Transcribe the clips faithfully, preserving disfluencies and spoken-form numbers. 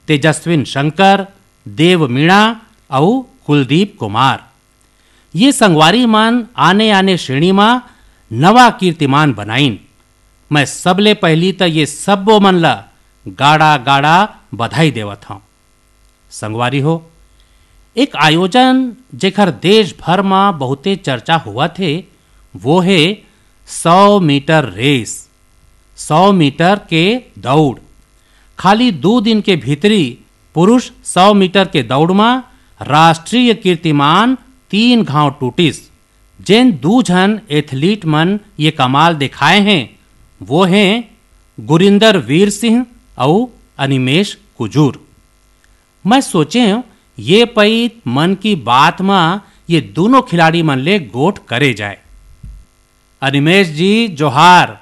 तेजस्विन शंकर, देव मीणा अउ कुलदीप कुमार। ये संगवारी मन आने-आने श्रेणी म नवा कीर्तिमान बनाइन। मैं सबले पहिली त ये सब्बो मन ल गाड़ा-गाड़ा बधाई देवत हंव। संगवारी हो, एक आयोजन जेकर देश भर म बहुते चर्चा होवत हे, वो हे सौ मीटर रेस, सौ मीटर के दौड़। खाली दू दिन के भीतरी पुरुष सौ मीटर के दौड़ म राष्ट्रीय कीर्तिमान तीन घांव टूटिस। जेन दू झन एथलीट मन ये कमाल देखाए हें, वो हें गुरिंदर वीर सिंह अउ अनिमेश कुजूर। मैं सोचेंव, ये पइत मन की बात म ये दूनों खिलाड़ी मन ले गोठ करे जाए। अनिमेश जी, जोहार।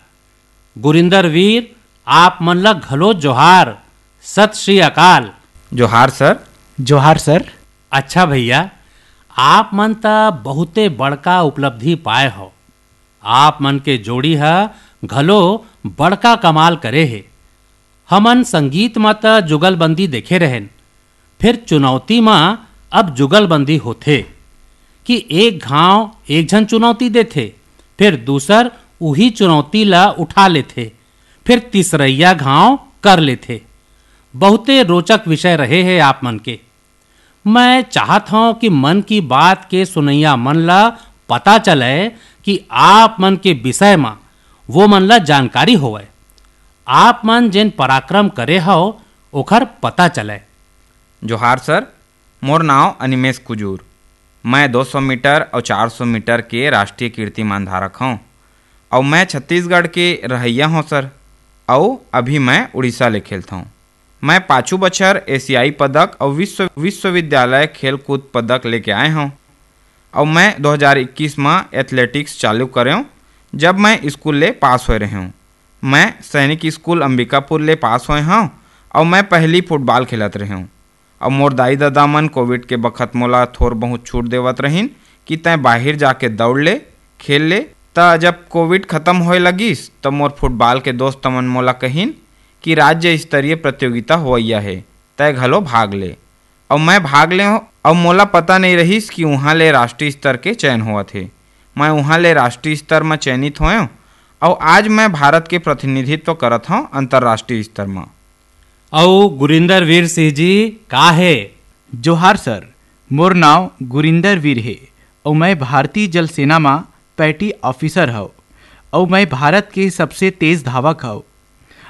गुरिंदर वीर, आप मन ल घलो जोहार। सत श्री अकाल। जोहार सर। जोहार सर। अच्छा भैया, आप मन त बहुते बड़का उपलब्धि पाए हो। आप मन के जोड़ी ह घलो बड़का कमाल करे हे। हमन संगीत म त जुगलबंदी देखे रहेन, फेर चुनौती म अब जुगलबंदी होथे कि एक घांव एक झन चुनौती देथे, फेर दूसर उही चुनौती ल उठा लेथे, फेर तीसरइया घांव कर लेथे। बहुते रोचक विषय रहे हे आप मन के। मैं चाहत हंव कि मन की बात के सुनइया मन ल पता चलय कि आप मन के विषय म वो मन ल जानकारी होवय। आप मन जेन पराक्रम करे हव, ओखर पता चलय। जोहार सर, मोर नांव अनिमेश कुजूर। मैं दो सौ मीटर अउ चार सौ मीटर के राष्ट्रीय कीर्तिमान धारक हंव, अउ मैं छत्तीसगढ़ के रहइया हंव सर, अउ अभी मैं उड़ीसा ले खेलथंव। मैं पाछू बछर एशियाई पदक अउ विश्व, विश्वविद्यालय खेलकूद पदक लेके आए हंव, अउ मैं दो हज़ार इक्कीस म एथलेटिक्स चालू करेंव, जब मैं स्कूल ले पास होए रहेंव। मैं सैनिक स्कूल अंबिकापुर ले पास होए हंव, अउ मैं पहिली फुटबॉल खेलत रहेंव। अउ मोर दाई ददा मन कोविड के बखत मोला थोर बहुत छूट देवत रहिन कि तैं बाहिर जाके दौड़ ले, खेल ले। त जब कोविड खत्म होए लगिस, त मोर फुटबॉल के दोस्त मन मोला कहिन कि राज्य स्तरीय प्रतियोगिता होवइया हे, तैं घलो भाग ले। अउ मैं भाग लेंव, अउ मोला पता नइ रहिस कि उहाँ ले राष्ट्रीय स्तर के चयन होवत हे। मैं उहाँ ले राष्ट्रीय स्तर म चयनित होएंव, अउ आज मैं भारत के प्रतिनिधित्व करत हंव अंतर्राष्ट्रीय स्तर म। अउ गुरिंदर वीर सिंह जी का हे? जोहार सर, मोर नांव गुरिंदर वीर हे, अउ मैं भारतीय जल सेना म पैटी ऑफिसर हव, अउ मैं भारत के सबसे तेज धावक हव।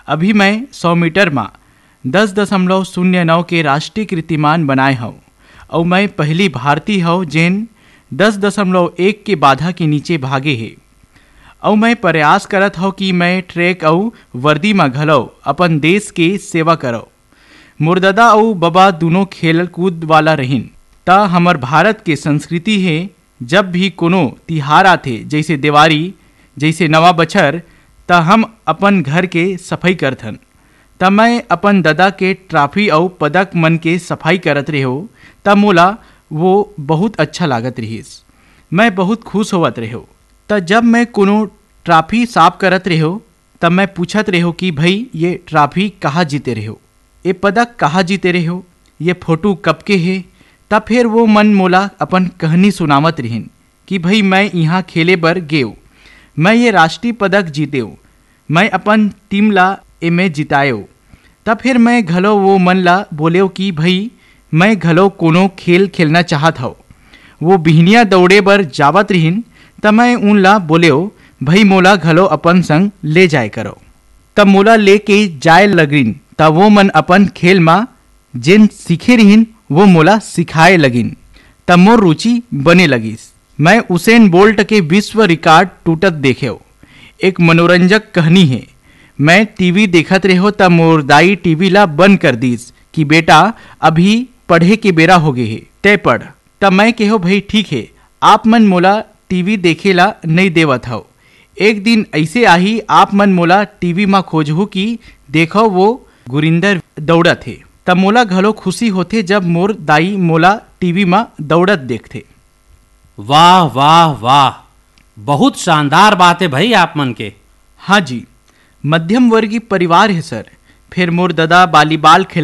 अभी मैं सौ मीटर म दस दशमलव शून्य नौ के राष्ट्रीय कीर्तिमान बनाए हव, अउ मैं पहिली भारतीय हव, जेन दस दशमलव एक के बाधा के नीचे भागे हे। अउ मैं प्रयास करत हव कि मैं ट्रैक अउ वर्दी म घलव अपन देश के सेवा करव। मोर ददा अउ बबा दूनों खेल कूद वाला रहिन, त हमर भारत के संस्कृति हे, जब भी कोनो तिहार आथे, जइसे देवारी, जइसे नवा बछर, त हम अपन घर के सफई करथन। त मैं अपन ददा के ट्रॉफी अउ पदक मन के सफाई करत रेहेंव, त मोला वो बहुत अच्छा लागत रिहिस। मैं बहुत खुश होवत रेहेंव। त जब मैं कोनो ट्रॉफी साफ करत रेहेंव, त मैं पूछत रेहेंव कि भई, ये ट्रॉफी कहाँ जीते रेहेंव? ये पदक कहाँ जीते रेहेंव? ये फोटो कब के हे? त फेर वो मन मोला अपन कहनी सुनावत रिहिन कि भई, मैं इहाँ खेले बर गेंव, मैं ये राष्ट्रीय पदक जीतेंव, मैं अपन टीम ला एमे जिताएंव। त फेर मैं घलो वो मन ला बोलेंव कि भई, मैं घलो कोनो खेल खेलना चाहत हव। वो बिहनिया दौड़े बर जावत रिहिन, त मैं उन ला बोलेंव, भई, मोला घलो अपन संग ले जाए करव। त मोला लेके जाए लगिन, त वो मन अपन खेल म जेन सीखे रिहिन, वो मोला सिखाए लगिन, त मोर रुचि बने लगिस। मैं उसेन बोल्ट के विश्व रिकॉर्ड टूटत देखेंव। एक मनोरंजक कहनी हे। मैं टीवी देखत रेहेंव, त मोर दाई टीवी ला बंद कर दीस कि बेटा, अभी पढ़े के बेरा होगे हे, तैं पढ़। त मैं केहेंव, भई ठीक हे, आप मन मोला टीवी देखे ला नइ देवत हव। एक दिन अइसे आही, आप मन मोला टीवी म खोजहू कि देखव, वो गुरिंदर दौड़त हे। त मोला घलो खुशी होथे, जब मोर दाई मोला टीवी म दौड़त देखथे। वाह, वाह, वाह, बहुत शानदार बात हे भई आप मन के। हाँ जी, मध्यम वर्गीय परिवार हे सर। फेर मोर ददा वॉलीबॉल खेल